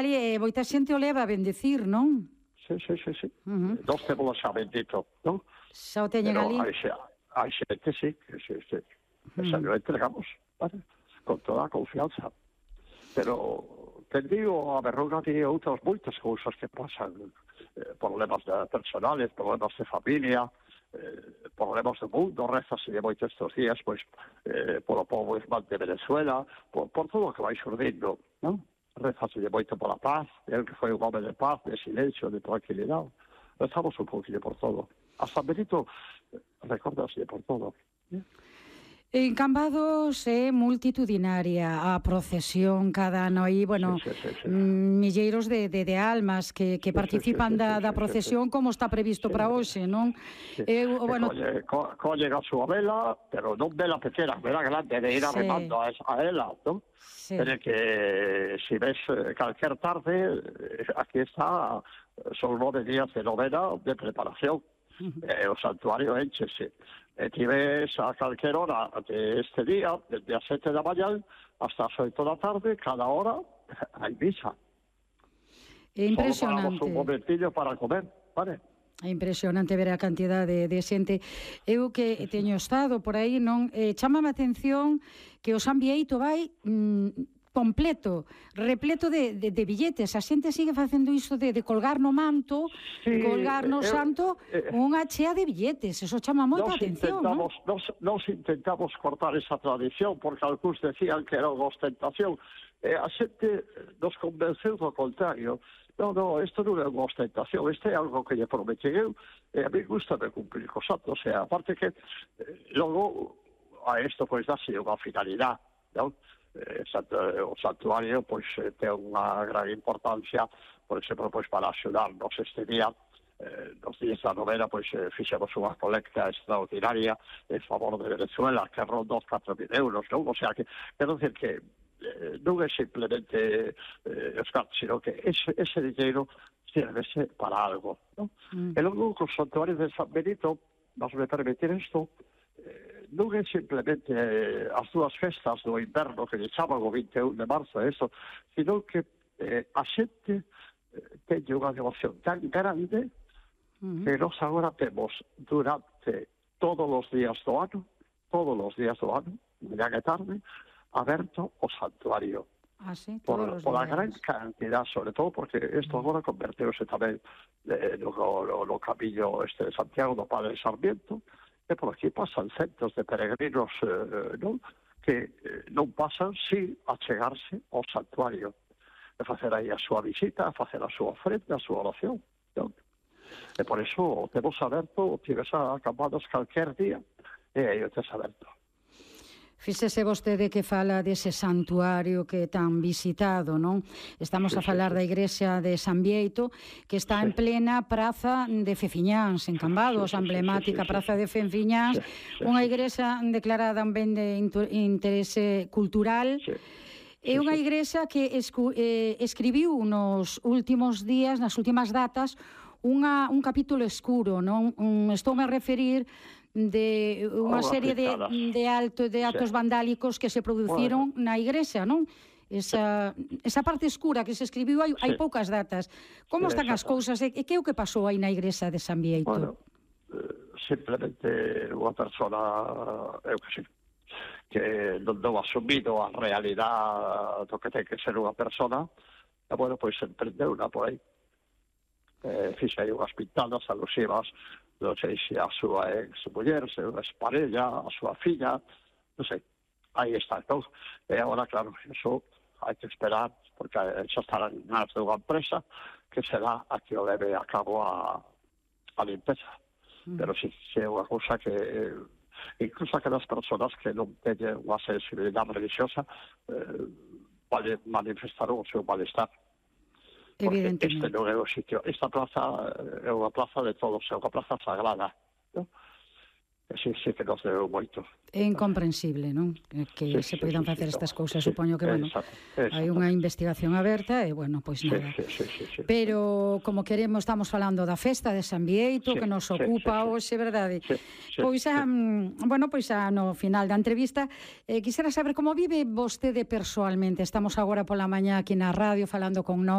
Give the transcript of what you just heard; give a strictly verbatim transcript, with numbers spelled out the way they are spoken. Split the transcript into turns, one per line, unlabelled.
ali e moita xente o leva a bendecir, non?
Sí, sí, sí, sí.
Uh -huh.
Nós temos xa bendito, non?
Xa o teñen
Pero
ali.
hai, hai xente, sí, que sí, sí. Uh -huh. Xa lo entregamos, vale? Con toda a confianza. Pero, te digo, a verruga de outras moitas cousas que pasan, eh, problemas de personales, problemas de familia, eh, problemas do mundo, rezas de moitos estes días, pois, eh, polo povo irmán de Venezuela, por, por todo o que vai xurdindo, non? Rezas de moito pola paz, el que foi un home de paz, de silencio, de tranquilidade. Rezamos un pouquinho por todo. A San Benito, recordase por todo.
En Cambados é multitudinaria a procesión cada ano aí, bueno, sí, sí, sí, sí. milleiros de, de, de almas que, que participan sí, sí, sí, da, sí, da procesión sí, sí. como está previsto sí, para hoxe, non?
Sí. Eu, bueno, colle, co, colle a súa vela, pero non vela pequena, vela grande, de ir arremando sí. a, a ela, non? Sí. Pero que si ves calquer tarde, aquí está, son nove días de novena de preparación. Uh -huh. eh, o santuario enchese. E ti ves a calquer hora de este día, desde as sete da mañá hasta as oito da tarde, cada hora hai misa.
É impresionante.
Solo paramos un momentillo para comer, vale?
É impresionante ver a cantidade de, de xente. Eu que teño estado por aí, non eh, chámame a atención que o San Bieito vai mm, completo, repleto de, de, de billetes. A xente sigue facendo iso de, de colgar no manto, sí, colgar no eh, santo, eh, unha chea de billetes. Eso chama moita atención, non?
Nos, nos intentamos cortar esa tradición, porque algúns decían que era unha ostentación. Eh, a xente nos convenceu do contrario. No, no, isto non é unha ostentación, isto é algo que lle prometen eu, e a mí gusta de cumplir co santo. O sea, aparte que eh, logo a isto pois dase unha finalidade, non? Eh, o santuario pois ten unha gran importancia, por exemplo, pois para axudarnos este día, eh, nos días da novena, pois eh, fixemos unha colecta extraordinaria en favor de Venezuela, que ronda os catro mil euros, non? O sea, que, quero decir que eh, non é simplemente eh, os cartos, sino que ese, ese dinheiro sirvese para algo, non? Mm. E logo, con o santuario de San Benito, vas me permitir isto, eh, non é simplemente eh, as dúas festas do inverno que lle chaman o vinte e un de marzo, eso, sino que eh, a xente eh, teñe unha devoción tan grande uh-huh. que nós agora temos durante todos os días do ano, todos os días do ano, mañá e tarde, aberto o santuario.
Ah, sí,
por, por a gran cantidad, sobre todo porque isto agora converteuse tamén eh, no, no, no camiño este de Santiago do Padre Sarmiento, e por aquí pasan centos de peregrinos eh, non? que eh, non pasan sin achegarse ao santuario, e facer aí a súa visita, a facer a súa ofrenda, a súa oración, non? E por iso temos aberto, tives a Cambados calquer día, e aí o tes aberto.
Fíxese vostede que fala dese santuario que é tan visitado, non? Estamos sí, a falar sí, sí. da igrexa de San Bieito, que está sí. en plena praza de Fefiñáns, en Cambados, sí, sí, emblemática sí, sí, sí, praza de Fefiñáns, sí, sí, unha igrexa declarada un ben de interese cultural. Sí. É unha igrexa que escu, eh, escribiu nos últimos días, nas últimas datas, unha, un capítulo escuro, non? Un, estou a referir de unha serie de, de, alto, de actos sí. vandálicos que se produciron bueno. na igrexa, non? Esa, esa parte escura que se escribiu hai, sí. hai poucas datas. Como sí, están as cousas? E que é o que pasou aí na igrexa de San Bieito?
Bueno, eh, simplemente unha persona, eu que sei, que non dou asumido a realidade do que ten que ser unha persona, e, bueno, pois emprendeu unha por aí. Eh, fixe aí unhas pintadas alusivas, non sei se a súa ex-muller, se a ex-parella, a súa filla, non sei, aí está, entón. E agora, claro, eso hai que esperar, porque xa estarán nas de unha empresa que será a que o leve a cabo a, a limpeza. Mm. Pero sí, sí é unha cousa que, incluso aquelas personas que non teñen unha sensibilidade religiosa, eh, vale manifestar o seu malestar. Porque este non é o sitio, esta plaza é unha plaza de todos, é unha plaza sagrada, non? E sí, sí que nos deu moito.
É incomprensible, non? Que sí, se sí, poidan sí, facer sí, estas cousas, sí, supoño que, bueno, exacto, exacto. hai unha investigación aberta e, bueno, pois nada.
Sí, sí, sí, sí,
Pero, como queremos, estamos falando da festa de San Bieito, sí, que nos ocupa sí, sí, hoxe, verdade?
Sí, sí,
pois, a,
sí.
bueno, pois a, no final da entrevista, eh, quisera saber como vive vostede persoalmente. Estamos agora pola mañá aquí na radio falando con nós.